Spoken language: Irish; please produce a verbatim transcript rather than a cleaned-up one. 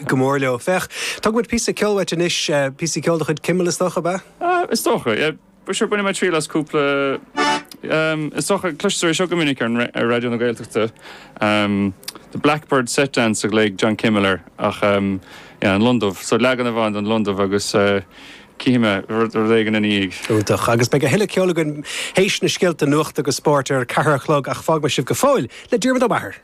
go mór leo. Féach, tógfaidh muid píosa ceoil uait anois, píosa ceoil de chuid Kimmel is dócha, ab ea? Is dócha, yeah. Sure, bainfidh mé triail as cúpla is dócha cloistear é seo go minic ar ar Raidió na Gaeltachta. Um, The Blackbird Set Dance a ghlaoigh John Kimmel air ach um, yeah, an Londubh, so leagan amháin den Londubh agus uh, cífidh mé rud éigin ina dhiaidh. Iontach, agus beidh a thuilleadh ceoil againn théis na scéalta nuachta agus spóirt ar ceathair a chlog ach fágfaidh mé sibh go fóill le Diarmuid Ó Meachair.